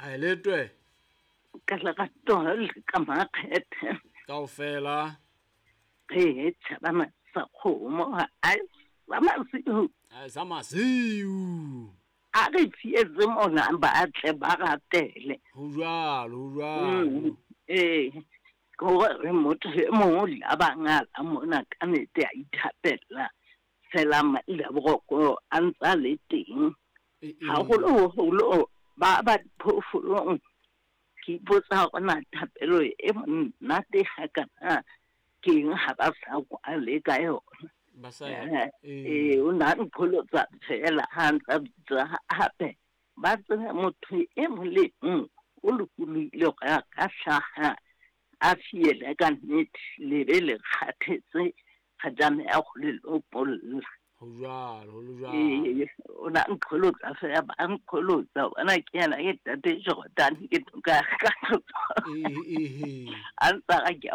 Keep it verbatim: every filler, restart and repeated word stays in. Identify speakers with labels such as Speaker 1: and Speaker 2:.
Speaker 1: Ha e letwe.
Speaker 2: Ka lerato le ka makgethe.
Speaker 1: Kaofela.
Speaker 2: Re tjhabana sa kgomo ha sa masiu.
Speaker 1: Ha sa masiu.
Speaker 2: A re fietse mona ba tle ba ratele.
Speaker 1: Ho jwalo, ho jwalo.
Speaker 2: Eh, gore motho e mong le a bangala mona ka nnete a ithapella. Fela le boroko a ntsa le teng. Haholoholo ba ba phoofolong. Ke ipotsa hore na thapelo e monate hakana ke eng ha ba sa kwale ka yona.
Speaker 1: Ba sa
Speaker 2: eh o na nqholotsa fela ha ntsa bitsa hape ba tsebe motho e mong le mong o lokolohile hore a ka hlaha a fiele ka nnete le be le kgathetse re tlameha ho le lopolla.
Speaker 1: Ho jwalo, ho jwalo.
Speaker 2: Eh, o na nqholotsa fela ba nqholotsa bona ke yena ke tate Jordan ke toka ka
Speaker 1: Eh eh.
Speaker 2: A ntsa ga ke